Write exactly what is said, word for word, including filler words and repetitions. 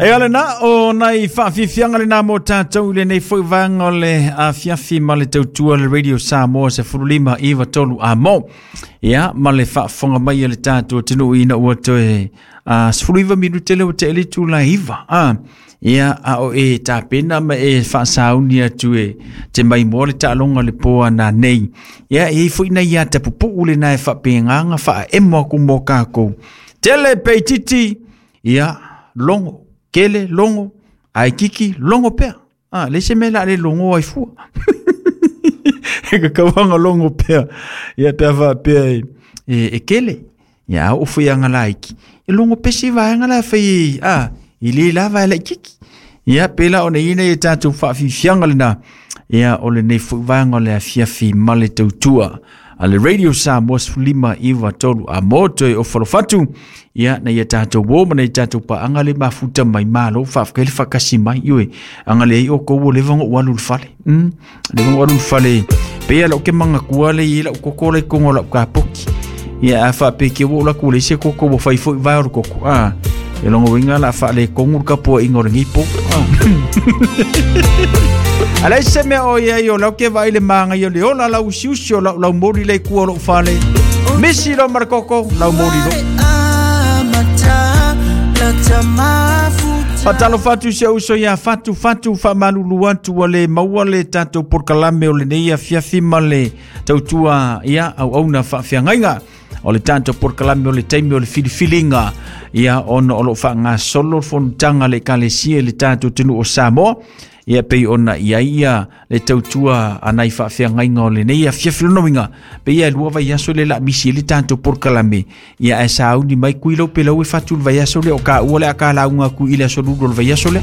E ale na o nai whaafifianga le nā mō tātou i le nei foi vanga o le afiafi ma le tautua le Radio Samoa se furulima iwa tolu a mō. Ia, ma le whaafonga mai le tātou tenu ina ua toe uh, sefulu iwa minute le ua te ele tula iwa. Ah. Ia, a o e tāpena ma e whaasauni atu e te mai mō le tālonga le pōa nā nei. Ia, e i nei ia te pupu le nā e whaapenganga whaa emo aku mō kākou. Tele peititi, ia, longo. Kele longo ai kiki longo pea. Ah, le se mela le longo ai fua. E ka kawanga longo pea. Ia pea fa pea e, e, e kele. Ia o fui anga laiki. E longo pesi va anga la fai ah, i le la va la kiki. Ia pela o ne ina e tātou whaafifianga le na. Ia o le nei fu vanga le afiafi male tautua. A le Radio Samoa lima iwa tolu a moto e o falofatu. Ia na ia tātou wō ma na ia tātou pa anga le mafuta mai malo whaafka le whakasi mai iwe. Anga le i o kou le vango walu le fale. Mm. Le vango walu le fale. Pea lau ke manga kua le i lau koko le kongo lau ka poki. Ia a wha pe ke wo la kule se koko wo whai fo i vai o koko. Ah. E longo winga la wha le kongu ka po ingo le ngipo. Ah. Alai se mea o ia i o lau ke vai le maanga i o le ola lau usiusi o lau lau mori le kua lou fale. Misi lo markoko, lau mori lo. Fatalo fatu se uso ia fatu fatu fa malulu atu o le maua le tātou porkalame o le nei afiafi ma le tautua ia au auna whaafiangaiga. O le tātou porkalame o le taimi o le filifilinga ia ona o lo wha solo fonutanga le kalesia le tātou tenu o Samoa. Ia pei ona ia ia le tautua anai whaafeangaiga o le nei afiafi lonoinga. Pe ia lua vai aso le la misi le tātou porkalame. Ia e sauni mai kui lau pe lau e fatu le vai aso le o ka ua le a ka launga ku i le aso lulu o le vai aso le.